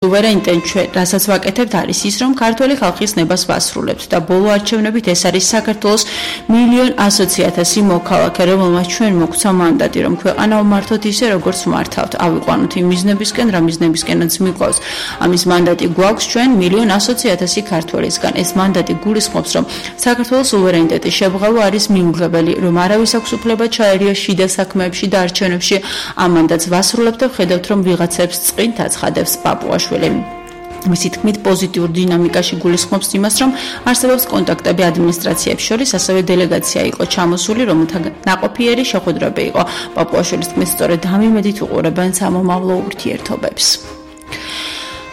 სუვერენიტეტ ჩვენ რასაც ვაკეთებთ არის ის, რომ ქართველი ხალხის ნებას ვასრულებთ და ბოლო არჩევნებით ეს არის საქართველოს 1,100,000 მოქალაქე, რომელმაც ჩვენ მოგვცა მანდატი, რომ ქვეყანა ვმართოთ ისე, როგორც ვმართავთ. ავიყვანოთ იმ მიზნებისკენ, რა მიზნებისკენაც მიყვავს. ამის მანდატი გვაქვს ჩვენ 1,100,000 ქართველისგან. ეს მანდატი გულისხმობს, რომ საქართველოს სუვერენიტეტის შებრალვა არის მიუღებელი, რომ არავის აქვს უფლება ჩაერიოს შიდა საქმეებში და არჩევნებში. ამ მანდატს ვასრულებთ და ვხედავთ, რომ ვიღაცებს წყინთ აცხადებს პაპუაშვილი. მისი თქმით პოზიტიურ დინამიკაში გულისხმობს იმას, რომ არსებობს კონტაქტები ადმინისტრაციებს შორის, ასევე დელეგაცია იყო ჩამოსული, რომელთა ნაყოფიერი შეხვედრები იყო. პაპუაშვილის თქმით, სწორედ ამ იმედით უყურებენ სამომავლო ურთიერთობებს.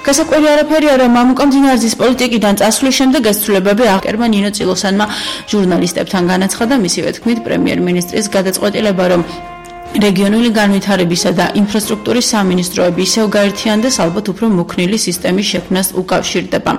გასაკვირი არაფერი არა, მამუკა მდინარაძის პოლიტიკიდან წასვლის შემდეგ ეს ცვლილებები აღკერმა ნინო წილოსანმა ჟურნალისტებთან განაცხადა. მისივე თქმით, პრემიერ-მინისტრის გადაწყვეტილება, რომ რეგიონული განვითარებისა და ინფრასტრუქტურის სამინისტროები ისევ გაერთიანდეს, ალბათ უფრო მოქნილი სისტემის შექმნას უკავშირდება.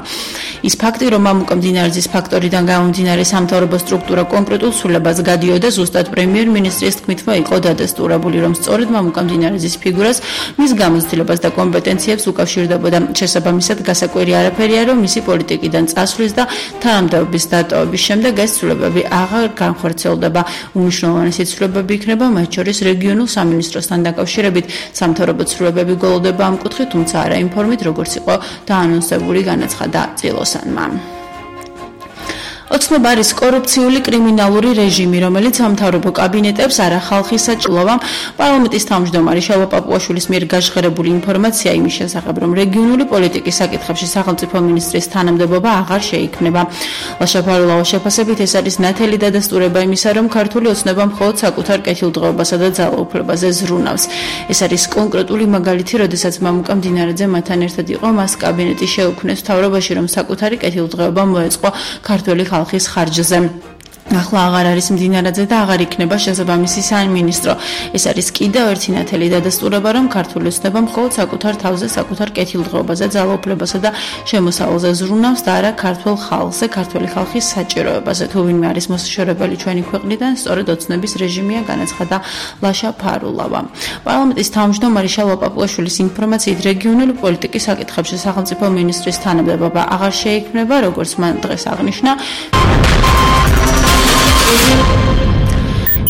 ის ფაქტი, რომ მამუკა მდინარაძის ფაქტორიდან გამომდინარე სამთავრობო სტრუქტურა კონკრეტულ ცვლილებას გადიოდა, ზუსტად პრემიერ-მინისტრის თქმითმა იყო დადასტურებული, რომ სწორედ მამუკა მდინარაძის ფიგურას, მის გამოცდილებას და კომპეტენციებს უკავშირდებოდა. შესაბამისად, გასაკვირი არაფერია, რომ მისი პოლიტიკიდან წასვლის და თანამდებობის დატოვების შემდეგ ეს ცვლილებები აღარ განხორციელდება. უმნიშვნელოვანესი ცვლილებები იქნება მათ შორის რეგიონულ სამინისტროსთან დაკავშირებით. სამთავრობო ცვლილებები გველოდება ამ კუთხით, თუმცა არა იმ ფორმით, როგორც იყო დაანონსებული, განაცხადა წილოსანმა. ოცნება არის კორუფციული კრიმინალური რეჟიმი, რომელიც სამთავრობო კაბინეტებს არა ხალხის საჭიროებამ. პარლამენტის თავმჯდომარე შალვა პაპუაშვილის მიერ გაჟღერებული ინფორმაცია იმის შესახებ, რომ რეგიონული პოლიტიკის საკითხებში სახელმწიფო მინისტრის თანამდებობა აღარ შეიქმნება. ლაშა-ფარულავა შეფასებით ეს არის ნათელი დადასტურება იმისა, რომ ქართული ოცნება მხოლოდ საკუთარ კეთილდღეობასა და ძალაუფლებაზე ზრუნავს. ეს არის კონკრეტული მაგალითი, როდესაც მამუკა მდინარაძე მათთან ერთად იყო, მას კაბინეტი შეუქმნეს მთავრობაში, რომ საკუთარი კეთილდღეობა მოეწყო ქართველი ხალხის ხარჯზე. ახლა აღარ არის მდინარაძე და აღარ იქნება შესაბამისი სამინისტრო. ეს არის კიდევ ერთი ნათელი დადასტურება, რომ ქართული ოცნება მხოლოდ საკუთარ თავზე, საკუთარ კეთილდღეობაზე, ძალაუფლებასა და შემოსავალზე ზრუნავს და არა ქართულ ხალხზე, ქართველი ხალხის საჭიროებაზე. თუ ვინმე არის მოსაშორებელი ჩვენი ქვეყნიდან, სწორედ ოცნების რეჟიმია, განაცხადა ლაშა-ფარულავა. პარლამენტის თავმჯდომარე შალვა პაპუაშვილის ინფორმაციით, რეგიონული პოლიტიკის საკითხებში სახელმწიფო მინისტრის თანამდებობა აღარ შეიქმნება, როგორც მან დღეს აღნიშნა.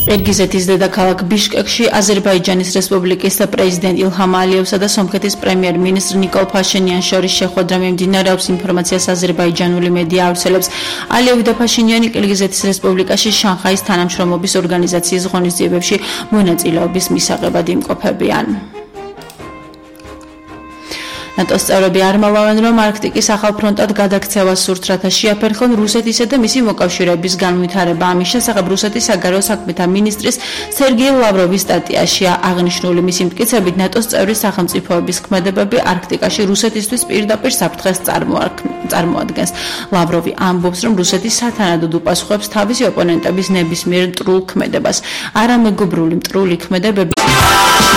ერგიზეთის დედაქალაქ ბიშკეკში აზერბაიჯანის რესპუბლიკის პრეზიდენტ ილჰამ ალიევსა და სომხეთის პრემიერ-მინისტრ ნიკოლ ფაშინიანს შორის შეხვედრა მიმდინარეობს. ინფორმაციას აზერბაიჯანული მედია ავრცელებს. ალიევი და ფაშინიანი კირგიზეთის რესპუბლიკაში შანხაის თანამშრომლობის ორგანიზაციის ღონისძიებებში მონაწილეობის მისაღებად იმყოფებიან. ნატოს წევრები არ მალავენ, რომ არქტიკის ახალ ფრონტად გადაქცევა სურთ, რათა შეაფერხონ რუსეთისა და მისი მოკავშირეების განვითარება. ამის შესახებ რუსეთის საგარეო საქმეთა მინისტრის სერგეი ლავროვის სტატიაშია აღნიშნული. მისი მტკიცებით, ნატოს წევრი სახელმწიფოების ქმედებები არქტიკაში რუსეთისთვის პირდაპირ საფრთხეს წარმოადგენს. ლავროვი ამბობს, რომ რუსეთი სათანადოდ უპასუხებს თავისი ოპონენტების ნებისმიერ მტრულ ქმედებას. არამეგობრული მტრული ქმედებები